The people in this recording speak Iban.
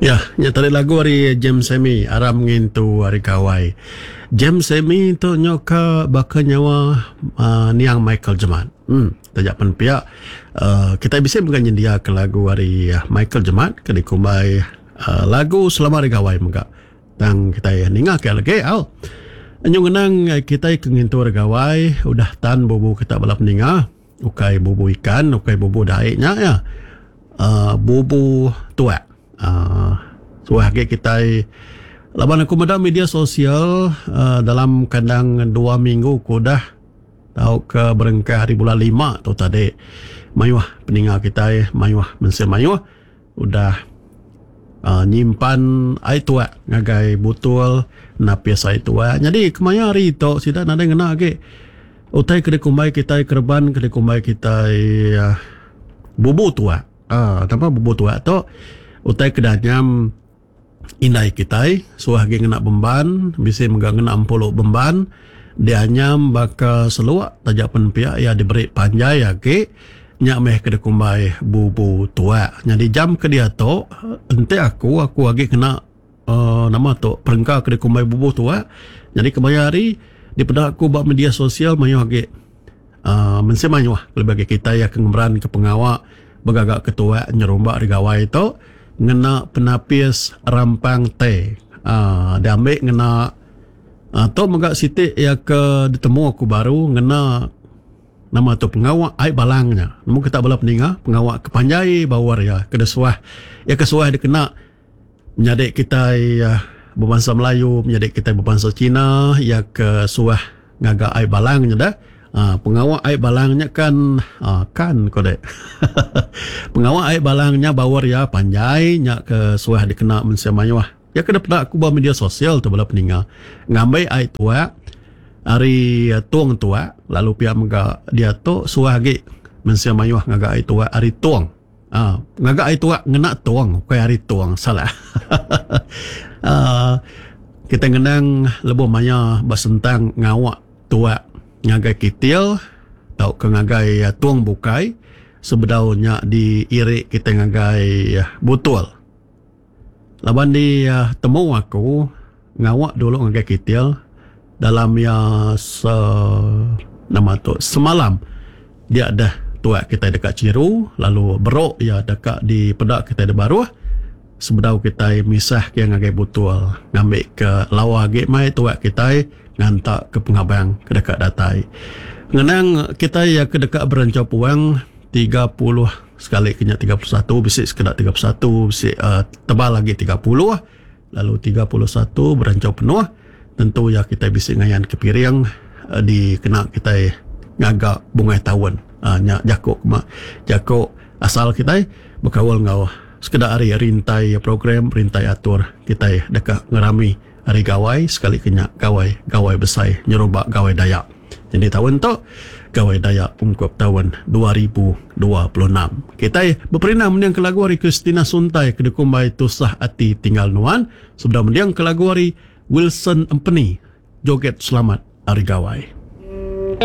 Ya, nya tadi lagu ari James Sammy aram ngintu Hari Gawai. James Sammy tu nyo ka baka nyawa uh, niang Michael Jemat. Hmm, taja pen pia uh, kitai bisi mega nyendia ke lagu ari Michael Jemat ke dikumbai uh, lagu Selamat Hari Gawai mega. Tang kitai ninga ke lagi au. Nyu ngenang kitai ke ngintu Hari Gawai udah tan bubu kita bala peninga. Ukai bubu ikan, ukai bubu daik nya iya. Uh, bubu tuak. Uh, suah agi kitai laban aku meda media sosial uh, dalam kandang dua minggu ke udah tauka berengkah ari bulan lima tu tadi mayuh peninga kitai mayuh mensia mayuh udah uh, nyimpan ai tuak ngagai butul napis ai tuak. Nyadi kemaya hari tu sida nadai ngena agi utai ke dikumbai kitai kereban ke dikumbai kitai uh, bubu tuak. Uh, nama bubu tuak tu utai ke danyam indai kitai suah agi ngena bemban, bisi mega ngena empulu bemban dianyam baka seluk taja pen pia iya diberi panjai agi nya meh ke dikumbai bubu tuak. Nyadi jam ke diatu enti aku aku agi ngena uh, nama tu perengka ke dikumbai bubu tuak. Nyadi kemaya hari dipeda aku ba media sosial mayuh agi uh, mensia mayuh kelebih agi kitai ke ngemeranka pengawa begaga ke tuak nyerumba hari gawai tu ngena penapis rampang teh. Uh, diambil ngena uh, tu mega siti iya ke ditemu aku baru ngena nama tu pengawa ai balang nya. Nemu kita bala peninga pengawa ke panjai bawar iya ke suah iya ke suah dikena menyadi kitai uh, berbangsa Melayu, menyadi kitai berbangsa Cina iya ke suah ngaga ai balang nya dah. Uh, pengawa ai balang nya kan uh, kan ko dek. Pengawa ai balang nya bawar iya panjai nya ke suah dikena mensia mayuh. Ya ke dipeda aku ba media sosial tu bala peninga. Ngambi ai tuak ari tung tuak lalu pia mega diatu suah agi mensia mayuh ngaga ai tuak ari tung. Uh, ngaga ai tuak ngena tung ukai ari tung salah. uh, kita ngenang lebuh maya basentang ngawak tuak ngagai kitil tauka ngagai tung bukai sebedau nya diiri kita ngagai butul. Laban di temu aku ngawak dulu ngagai kitil dalam ya se nama tu semalam dia dah tuak kita deka chiru lalu beruk ya deka dipeda kita di baruh sebedau kita misah ke ngagai butul ngambi ke lawa agi mai tuak kita nganta ke pengabang ke deka datai. Ngenang kita ya ke deka berencau puang 30 sekali kenya 31 bisi sekeda 31 bisi uh, tebal lagi 30 lalu 31 berencau penuh tentu ya kita bisi ngayan ke piring uh, dikena kita ngaga bungai taun. Uh, nya jako ma jako asal kita berkawal ngau sekeda hari rintai program rintai atur kita deka ngerami hari gawai sekali kenya gawai gawai besai nyeruba gawai Dayak. Jadi tahun tu Gawai Dayak ungkup tahun 2026. Kita beperindang mendiang ke lagu hari Christina Suntai ke dikumbai Tusah Ati Tinggal Nuan. Sebedau mendiang ke lagu hari Wilson Empeni Joget Selamat Hari Gawai.